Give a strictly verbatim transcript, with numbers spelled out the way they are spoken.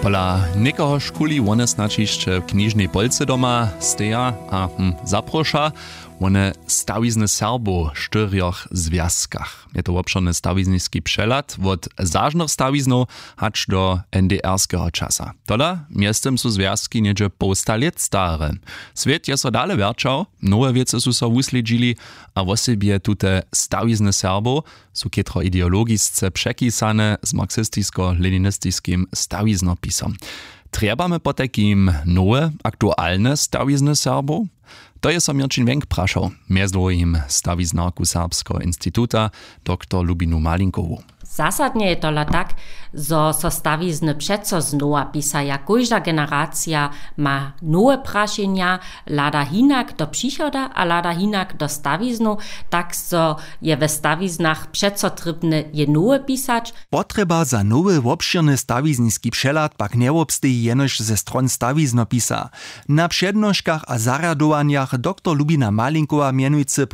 Pola někoho škuli wone snadź hišće w knižnej polce doma steja a hm, zaproša. Wone stawizny Serbow w štyrjoch zwjazkach. Je to wobšěrny stawizniski přehlad wot zažnych stawiznow hač do NDR-skeho časa. Tola mjeztym su zwjazki něhdźe połsta lět stare. Swět je so dale wjerćał, nowe wěcy su so wuslědźili, a wosebje tute stawizny Serbow su chětro ideologisce přepisane z marksistisko-leninistiskim stawiznopisom. Trjebamy potajkim nowe aktualne stawizny Serbow? To je so Měrćin Wenk prašał, mjez druhim stawiznarku Serbskeho instituta doktor Lubinu Malinkowu. Zasadnje je tola tak, zo so stawizny přeco znowa pisaja. Kóžda generacija ma nowe prašenja, hlada hinak do přichoda a hlada hinak do stawiznow, tak zo je we stawiznach přeco trěbne je nowe pisać. Potrjeba za nowy wobšěrny stawizniski přehlad pak njewobsteji jenož ze stron stawiznopisa. Na přednoškach a zarjadowanjach doktor Lubina Malinkowa mjenujcy